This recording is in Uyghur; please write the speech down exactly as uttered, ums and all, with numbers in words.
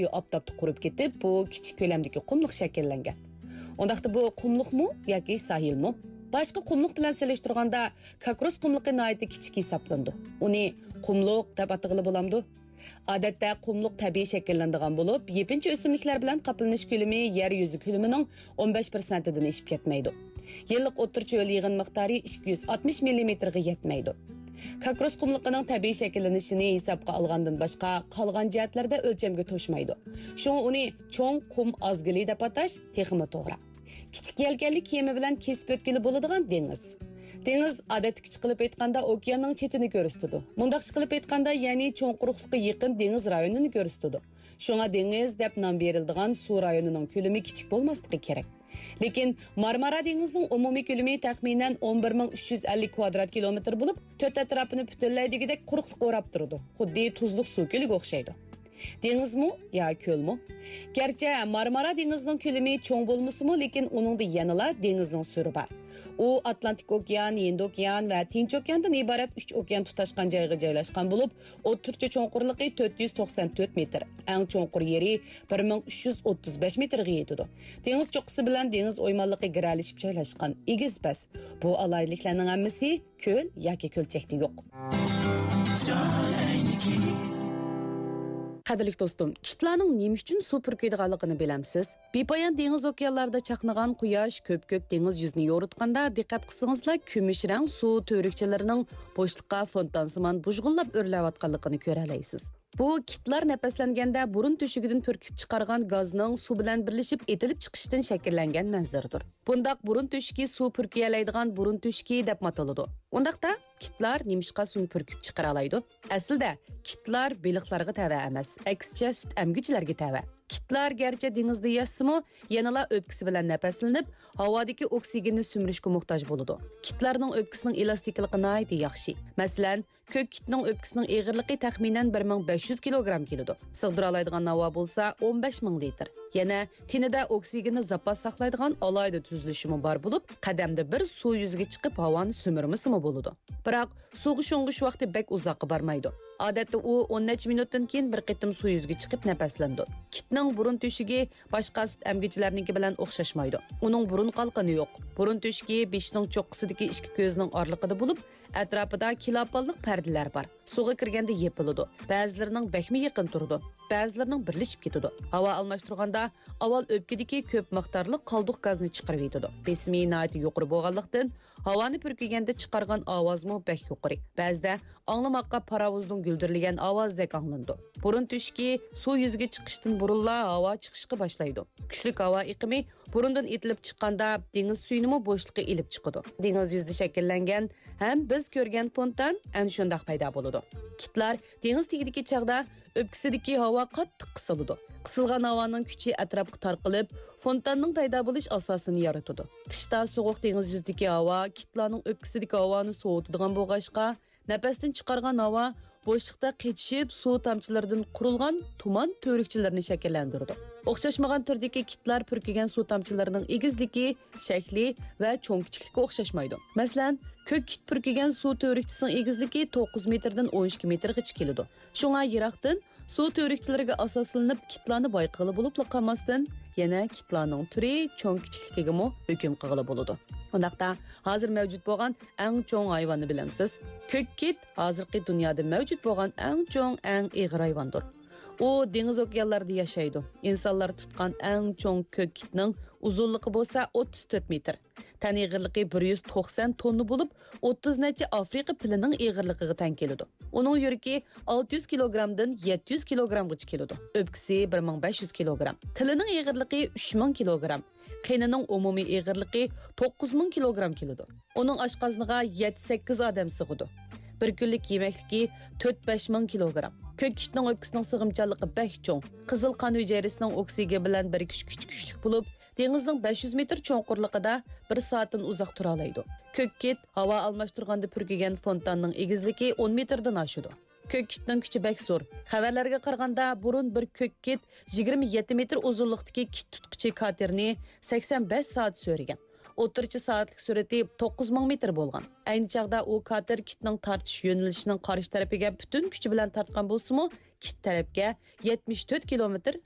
ئاپتاپتا قۇرۇپ كېتىپ، بۇ كىچىك كۆلەمدىكى قۇملۇق شەكىللەنگەن. ئۇنداقتا بۇ قۇملۇقمۇ ياكى ساھىلمۇ؟ باشقا قۇملۇق بىلەن سېلىشتۇرغاندا، كاكروس قۇملۇقى ناھايىتى كىچىك ھېسابلىنىدۇ. ئۇنى قۇملۇق دەپ ئاتىغىلى بولامدۇ؟ ئادەتتە قۇملۇق تەبىئىي شەكىللىنىدىغان بولۇپ، يېپىنچا ئۆسۈملۈكلەر بىلەن قاپلىنىش كۆلىمى يەر يۈزى كۆلىمىنىڭ ئون بەش پىرسەنتىدىن ئېشىپ كەتمەيدۇ. يىللىق ئوتتۇرىچە ھۆل يىغىن مىقدارى ئىككى يۈز ئاتمىش مىللىمېتىرغا يەتمەيدۇ. كاكروس قۇملۇقىنىڭ تەبىئىي شەكىللىنىشىنى ھېسابقا ئالغاندىن باشقا، قالغان جەھەتلەردە ئۆلچەمگە توشمايدۇ. شۇڭا ئۇنى چوڭ قۇم ئازگىلى دەپ ئاتاش تېخىمۇ توغرا. كىچىك يەلكەنلىك كېمە بىلەن كېسىپ ئۆتكىلى بولىدىغان دېڭىز. دېڭىز، ئادەتتىكىچە قىلىپ ئېيتقاندا، ئوكياننىڭ چېتىنى كۆرسىتىدۇ. مۇنداقچە قىلىپ ئېيتقاندا، يەنى چوڭ قۇرۇقلۇققا يېقىن دېڭىز رايونىنى كۆرسىتىدۇ. شۇڭا دېڭىز دەپ نام بېرىلىدىغان سۇ رايونىنىڭ كۆلىمى كىچىك بولماسلىقى كېرەك. لېكىن مارمارا دېڭىزىنىڭ ئومۇمىي كۆلىمى تەخمىنەن ئون بىر مىڭ ئۈچ يۈز ئەللىك كۋادرات كىلومېتىر بولۇپ، تۆت ئەتراپىنى پۈتۈنلەي دېگۈدەك قۇرۇقلۇق ئوراپ تۇرىدۇ. خۇددى تۇزلۇق سۇ كۆلىگە ئوخشايدۇ. دېڭىزمۇ يا كۆلمۇ؟ گەرچە مارمارا دېڭىزىنىڭ كۆلىمى چوڭ بولمىسىمۇ، لېكىن ئۇنىڭدا يەنىلا دېڭىزنىڭ سۈرى بار. ئۇ ئاتلانتىك ئوكيان، ھىند ئوكيان ۋە تىنچ ئوكياندىن ئىبارەت ئۈچ ئوكيان تۇتاشقان جايغا جايلاشقان بولۇپ، ئوتتۇرىچە چوڭقۇرلۇقى تۆت يۈز توقسان تۆت مېتىر، ئەڭ چوڭقۇر يېرى بىر مىڭ ئۈچ يۈز ئوتتۇز بەش مېتىرغا يېتىدۇ. دېڭىز چوققىسى بىلەن دېڭىز ئويمانلىقى گىرەلىشىپ جايلاشقان ئېگىز پەس. بۇ ئالاھىدىلىكلەرنىڭ ھەممىسى كۆل ياكى كۆلچەكتە يوق. قەدىرلىك دوستۇم، كىتلارنىڭ نېمە ئۈچۈن سۇ پۈركۈيدىغانلىقىنى بىلەمسىز؟ بىپايان دېڭىز ئوكيانلاردا چاقنىغان قۇياش كۆپكۆك دېڭىز يۈزىنى يورۇتقاندا، دىققەت قىلسىڭىزلا، كۈمۈش رەڭ سۇ تۈۋرۈكچىلىرىنىڭ بوشلۇققا فونتانسىمان بۇژغۇنلاپ ئۆرلەۋاتقانلىقىنى كۆرەلەيسىز. بۇ كىتلار نەپەسلەنگەندە بۇرۇن تۆشۈكىدىن پۈركۈپ چىقارغان گازنىڭ سۇ بىلەن بىرلىشىپ ئېتىلىپ چىقىشىدىن شەكىللەنگەن مەنزىرىدۇر. بۇنداق بۇرۇن تۆشۈكى سۇ پۈركىيەلەيدىغان بۇرۇن تۆشۈكى دەپمۇ ئاتىلىدۇ. ئۇنداقتا كىتلار نېمىشقا سۇنى پۈركۈپ چىقىرالايدۇ؟ ئەسلىدە كىتلار بېلىقلارغا تەۋە ئەمەس، ئەكسىچە سۈت ئەمگۈچىلەرگە تەۋە. كىتلار گەرچە دېڭىزدا ياشىسىمۇ، يەنىلا ئۆپكىسى بىلەن نەپەسلىنىپ، ھاۋادىكى ئوكسىگېننى سۈمۈرۈشكە موھتاج بولىدۇ. كىتلارنىڭ ئۆپكىسىنىڭ ئېلاستىكىلىقى ناھايىتى ياخشى. مەسىلەن، كۆك كىتنىڭ ئۆپكىسىنىڭ ئېغىرلىقى تەخمىنەن بىر مىڭ بەش يۈز كىلوگرام كېلىدۇ. سىغدۇرالايدىغان ھاۋا بولسا ئون بەش مىڭ لىتىر. يەنە تېنىدە ئوكسىگېننى زاپاس ساقلايدىغان ئالاھىدە تۈزۈلۈشىمۇ بار بولۇپ، قەدەمدە بىر سۇ يۈزىگە چىقىپ ھاۋانى سۈمۈرمىسىمۇ بولىدۇ. بىراق سۇغا شۇڭغۇش ۋاقتى بەك ئۇزاققا بارمايدۇ. ئادەتتە ئۇ ئون نەچچە مىنۇتتىن كېيىن بىر قېتىم سۇ يۈزىگە چىقىپ نەپەسلىنىدۇ. كىتنىڭ بۇرۇن تۆشۈكى باشقا سۈت ئەمگۈچىلەرنىڭكى بىلەن ئوخشاشمايدۇ. ئۇنىڭ بۇرۇن قالقىنى يوق. بۇرۇن تۆشۈكى بېشىنىڭ چوققىسىدىكى ئىككى كۆزىنىڭ ئارىلىقىدا بولۇپ، ئەتراپىدا كىلاپانلىق پەردىلەر بار. سۇغا كىرگەندە يېپىلىدۇ. بەزىلىرىنىڭ بەكمۇ يېقىن تۇرىدۇ. بەزىلىرىنىڭ بىرلىشىپ كېتىدۇ. ھاۋا ئالماشتۇرغاندا ئاۋۋال ئۆپكىدىكى كۆپ مىقدارلىق قالدۇق گازنى چىقىرىۋېتىدۇ. بېسىمى ناھايىتى يۇقىرى بولغانلىقتىن، ھاۋانى پۈركۈگەندە چىقارغان ئاۋازمۇ بەك يۇقىرى. بەزىدە ئاڭلىماققا پاراۋۇزنىڭ گۈلدۈرلىگەن ئاۋازىدەك ئاڭلىنىدۇ. بۇرۇن تۆشۈكى سۇ يۈزىگە چىقىشتىن بۇرۇنلا ھاۋا چىقىشقا باشلايدۇ. كۈچلۈك ھاۋا ئېقىمى بۇرۇندىن ئېتىلىپ چىققاندا، دېڭىز سۈيىنىمۇ بوشلۇققا ئېلىپ چىقىدۇ. دېڭىز يۈزىدە شەكىللەنگەن ھەم بىز كۆرگەن فونتان ئەنە شۇنداق پەيدا بولىدۇ. كىتلار دېڭىز تېگىدىكى چاغدا ئۆپكىسىدىكى ھاۋا قاتتىق قىسىلىدۇ. قىسىلغان ھاۋانىڭ كۈچى ئەتراپقا تارقىلىپ، فونتاننىڭ پەيدا بولۇش ئاساسىنى يارىتىدۇ. قىشتا سوغۇق دېڭىز يۈزىدىكى ھاۋا كىتلارنىڭ ئۆپكىسىدىكى ھاۋانى سوۋۇتىدىغان بولغاچقا، نەپەستىن چىقارغان ھاۋا بوشلۇقتا قېتىشىپ، سۇ تامچىلىرىدىن قۇرۇلغان تۇمان تۈۋرۈكچىلىرىنى شەكىللەندۈرىدۇ. ئوخشاشمىغان تۈردىكى كىتلار پۈركىگەن سۇ تامچىلىرىنىڭ ئېگىزلىكى، شەكلى ۋە چوڭ-كىچىكلىكى ئوخشاشمايدۇ. مەسىلەن، كۆك كىت پۈركىگەن سۇ تۈۋرۈكچىسىنىڭ ئېگىزلىكى توققۇز مېتىردىن ئون ئىككى مېتىرغىچە كېلىدۇ. شۇڭا يىراقتىن سۇ تۈۋرۈكچىلىرىگە ئاساسلىنىپ كىتلارنى بايقىغىلى بولۇپلا قالماستىن، يەنە كىتلارنىڭ تۈرى، چوڭ-كىچىكلىكىگىمۇ ھۆكۈم قىلغىلى بولىدۇ. ئۇنداقتا، ھازىر مەۋجۇت بولغان ئەڭ چوڭ ھايۋاننى بىلەمسىز؟ كۆك كىت ھازىرقى دۇنيادا مەۋجۇت بولغان ئەڭ چوڭ، ئەڭ ئېغىر ھايۋاندۇر. ئۇ دېڭىز ئوكيانلاردا ياشايدۇ. ئىنسانلار تۇتقان ئەڭ چوڭ كۆك كىتنىڭ ئۇزۇنلۇقى بولسا ئوتتۇز تۆت مېتىر. تەن ئېغىرلىقى بىر يۈز توقسان توننا بولۇپ، ئوتتۇز نەچچە ئافرىقا پىلىنىڭ ئېغىرلىقىغا تەڭ كېلىدۇ. ئۇنىڭ يۈرىكى ئالتە يۈز كىلوگرامدىن يەتتە يۈز كىلوگرامغىچە كېلىدۇ. ئۆپكىسى بىر مىڭ بەش يۈز كىلوگرام. تىلىنىڭ ئېغىرلىقى ئۈچ مىڭ كىلوگرام. قېنىنىڭ ئومۇمىي ئېغىرلىقى توققۇز مىڭ كىلوگرام كېلىدۇ. ئۇنىڭ ئاشقازىنىغا يەتتە سەككىز ئادەم سىغىدۇ. بىر كۈنلۈك يېمەكلىكى تۆت بەش مىڭ كىلوگرام. كۆك كىتنىڭ ئۆپكىسىنىڭ سىغىمچانلىقى بەك چوڭ. قىزىل قان ھۈجەيرىسىنىڭ ئوكسىگېن بىلەن بىرىكىش كۈچى كۈچلۈك بولۇپ، دېڭىزنىڭ بەش يۈز مېتىر چوڭقۇرلۇقىدا بىر سائەتتىن ئۇزاق تۇرالايدۇ. كۆك كىت ھاۋا ئالماشتۇرغاندا پۈركىگەن فونتاننىڭ ئېگىزلىكى ئون مېتىردىن ئاشىدۇ. كۆك كىتنىڭ كۈچى بەك زور. خەۋەرلەرگە قارىغاندا، بۇرۇن بىر كۆك كىت يىگىرمە يەتتە مېتىر ئۇزۇنلۇقتىكى كىت تۇتقۇچى كاتېرنى سەكسەن بەش سائەت سۆرىگەن. ئوتتۇرىچە سائەتلىك سۈرئىتى توققۇز مىڭ مېتىر بولغان. ئەينى چاغدا ئۇ كاتېر كىتنىڭ تارتىش يۆنىلىشىنىڭ قارشى تەرىپىگە پۈتۈن كۈچى بىلەن تارتقان بولسىمۇ، كىت تەرەپكە يەتمىش تۆت كىلومېتىر